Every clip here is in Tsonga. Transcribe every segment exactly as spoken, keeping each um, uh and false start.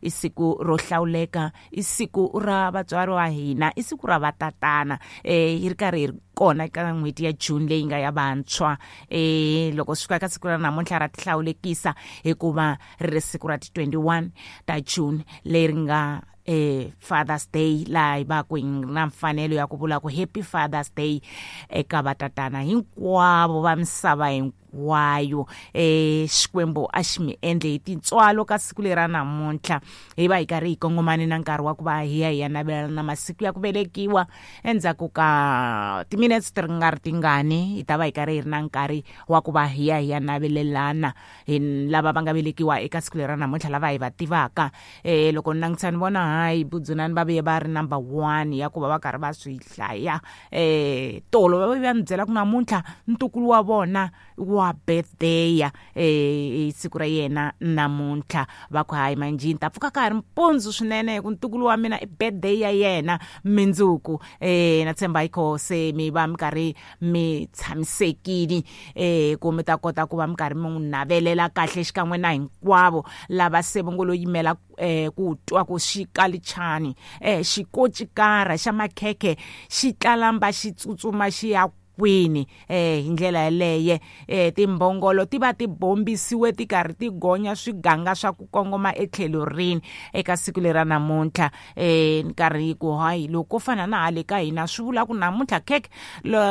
I siku ro hlawuleka, i siku ra vatswari wa hina, i siku ra vatatana. Eh hi ri karhi hi ri kona eka n'hweti ya June leyi nga ya vantshwa. Eh loko swi fika ka siku ra namuntlha ra tihlawulekisa hikuva ri ri siku ra ti twenty-one ta June leri nga eh Father's Day, laha hi va ku hi na mfanelo ya ku vula ku Happy Father's Day eka vatatana hinkwavo va misava hinkwayo. Eh Xikwembu a xi mi endle hi tintswalo ka siku leri ra namuntlha. Hi va hi karhi hi kongomane na nkarhi wa ku va hi ya hi ya navelana na masiku ya ku velekiwa. Endzhaku ka timinetse ti nga ri tingani hi ta va hi karhi hi ri na nkarhi wa ku va hi ya hi ya navelelana hi lava va nga velekiwa eka siku leri ra namuntlha, lava hi va tivaka. Eh loko ni langutisa ni vona hayi Budzunani va vuye va ri number one ya ku va va karhi va swi hlaya. Eh tolo va va ni byela ku namuntlha ntukulu wa vona wa birthday ya eh siku ra yena namuntlha. Va ku hayi manjini ta pfuka ka ha ri mpundzu swinene ku ntukulu wa mina i birthday ya yena mindzuku. Eh na tshemba hi kho se mi va mi karhi mi tshamisekile eh ku mi ta kota ku va mi karhi mi n'wi navelela kahle xikan'we na hinkwavo lava se va ngo lo yimela eh ku twa ku xikalichani eh xikocikara xa makhekhe xi tlalamba xi tsutsuma xi ya kwini. Eh hi ndlela yeleye eh timbhongolo ti va ti bombisiwe ti karhi ti gonya swiganga swa ku kongoma etlhelo rini eka siku leri ra namuntlha. Eh nkarhi ku hayi loko fana na hale ka hina swi vula ku namuntlha khekhe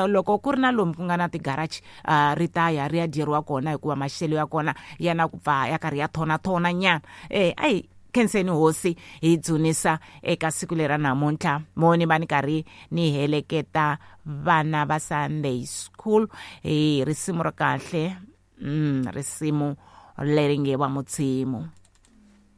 loko ku ri na lomu ku nga na ti-garage ri ta ya ri ya dyeriwa kona hikuva maxelo ya kona ya na ku pfa ya karhi ya thona-thona nyana. Eh ayi khenseni hosi hi dzunisa eka siku leri ra namuntlha. Mo ni va ni karhi ni heleketa vana va Sunday school hi risimu ra kahle, mm risimu leri nge wa Mudzimu.